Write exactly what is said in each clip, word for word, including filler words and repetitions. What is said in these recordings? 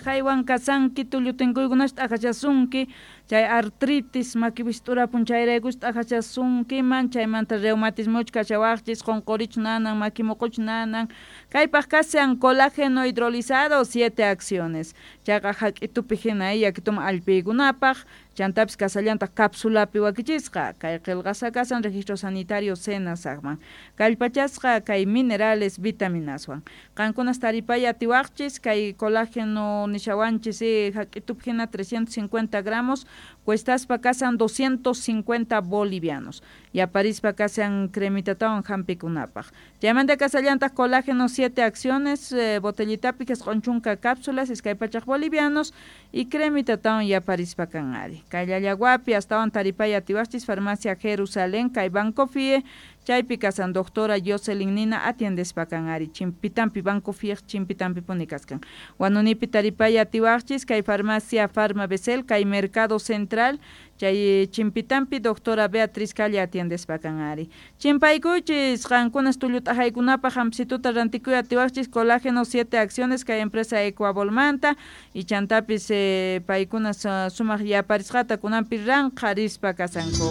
t'ajaywan kasanki, tullu tinkuykunash t'ajachasunki, chay artritis maki wist'urapun chayraykush t'ajachasunkiman, chaymanta reumatismoch kachawaqchis, qunqurich nanan, maki muquch nanan, kaypaq kashan colágeno hidrolizado siete acciones, chayqa hak'itupi hina yakituman allpiykunapaq, chantapis kasallantaq cápsulapi wakichisqa, kay qillqasqa kasan registro sanitario SENASACman, kallpachasqa kay minerales vitaminaswan, qankunas taripay atiwaqchis kay colágeno nishawanchis hak'itupi hina trescientos cincuenta gramos, cuestaspa kasan doscientos cincuenta bolivianos, yaparispa kasan cremitatawan hampikunapaq, chaymanta kasallantaq colágeno siete acciones, eh, botellitapi qisqun chunka cápsulas, iskay pachak bolivianos, y cremitatawan yaparispa kan ari, kay Llallaguapi astawan taripay atiwaqchis farmacia Jerusalén, kay Banco F I E, chaypi kasan doctora Jocelyn Nina atiendespa kan ari, chimpitampi Banco F I E chimpitampi puni kaskan, Huanunipi taripay atiwaqchis kay farmacia Farma Becel, kay Mercado Central, chay chimpitampi doctora Beatriz Calle atiendespa kan ari, chimpaykuychis qankunas tullu t'ajaykunapaq hampsituta rantikuy atiwaqchis colágeno siete acciones kay empresa Ecuabolmanta, y chantapis eh, paykunas uh, sumaq yaparisqata kunanpi ranqharispa kasanku.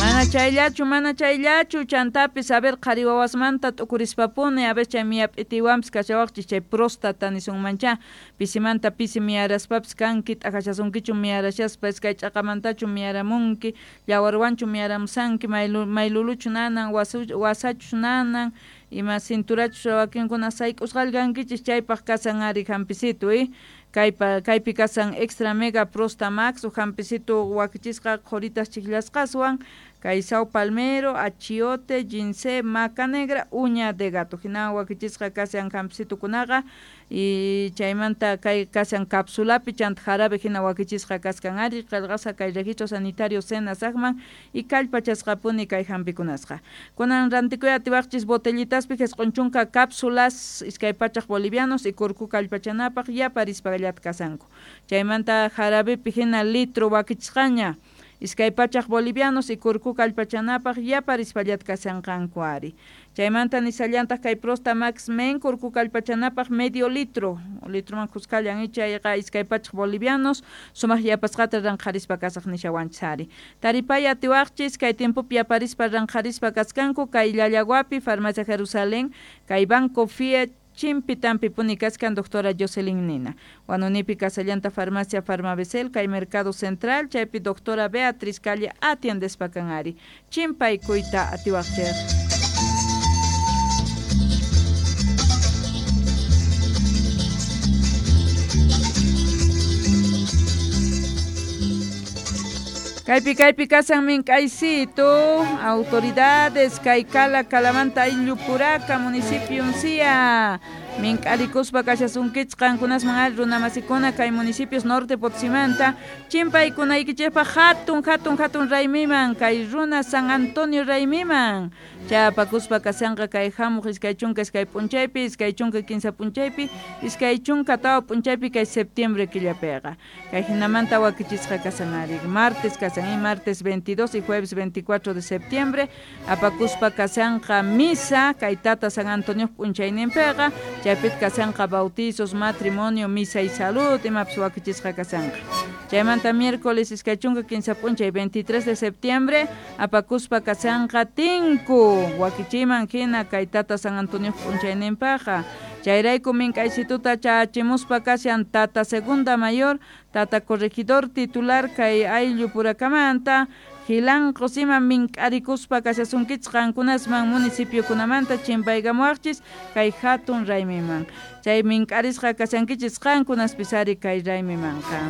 Mana chayllachu, mana chayllachu, chantapis a ver qhari wawasmanta t'ukurispapuni, a ver chay miyap'itiwanpis kachawaqchis chay próstata nisunmancha, pisimanta pisi miyaraspapis kanki, t'ajachasunkichu miyarashaspa, iskay ch'aqamantachu miyaramunki, llawarwanchu miyaramusanki, maylu, mayluluchu nanan, wasu, wasachu nanan, ima cinturachus wakinkuna sayk'usqalla kankichis, chaypaq kasan ari hampisitu, eh? Kaypa, kaypi kasan extra mega prosta max, hampisitu wakichisqa qhuritas chiklasqaswan, kay sao palmero, achiote, ginseng, maca negra, uña de gato, hina wakichisqa kashan hampisitukunaqa, y chaymanta kay kashan cápsulapi, chanta jarabe hina wakichisqa kaskan ari, qillqasqa kay registro sanitario SENASACman, y kallpachasqapuni kay hampikunasqa. Kunan rantikuy atiwaqchis botellitaspi qisqun chunka cápsulas, iskay pachak bolivianos, y kurku kallpachanapaq yaparispallata kasanku. Chaymanta jarabepi hina litro wakichisqaña, iskay pachak bolivianos, y kurku kallpachanapaq yaparispallata kashanqanku ari. Chaymanta nisallantaq kay Prosta Max Men kurku kallpachanapaq medio litro, litroman kuskallan chayqa iskay pachak bolivianos, sumaq yapasqata ranqharispa kasaq nishawanchis ari. Taripay atiwaqchis kay tiempopi yaparispa ranqharispa kaskanku kay Llallaguapi, Farmacia Jerusalén, kay Banco F I E, chimpitampi puni kaskan doctora Jocelyn Nina. Huanunipi kasallanta Farmacia Farmabecel, kay Mercado Central, chaypi doctora Beatriz Calle atiendespa kan ari. Chimpaykuyta atiwaqchis. Kaypi kaypi kasan mink'aysito, autoridades, kay Cala, Calamanta, Ayllu, Puraca, municipio Uncía. Mink'arikuspa kashasunkichis qankunasman ari runamasikuna kay municipios norte Potosímanta, chimpaykunaykichikpaq hatun hatun hatun raymiman, kay runa San Antonio raymiman. Chapakuspa kashanqa kay hamuq iskay chunka iskay p'unchaypi, iskay chunka kinsa p'unchaypi, iskay chunka tawa p'unchaypi kay septiembre killapiqa. Kay hinamanta wakichisqa kasan ari, martes kasan, y martes veintidós y jueves veinticuatro de septiembre, apakuspa kashanqa misa, kay tata San Antonio p'unchayninpiqa, chaypit kasanqa bautizos, matrimonio, misa y salud, imapis wakichisqa kasanqa. Chaymanta miércoles iskay chunka kinsa p'unchay veintitrés de septiembre, apakuspa kasanqa tinku, wakichiman hina kay tata San Antonio p'unchayninpaqa. Chayrayku mink'aysituta chachimuspa kashan tata segunda mayor, tata corregidor titular kay ayllu purakamanta, Gilanqos ima mink'arikuspa kashasunkichis qankunasman municipiokunamanta chimpaykamuwaqchis kay hatun raymiman. Chay mink'arisqa kashankichis qankunaspis ari kay raymimanqa.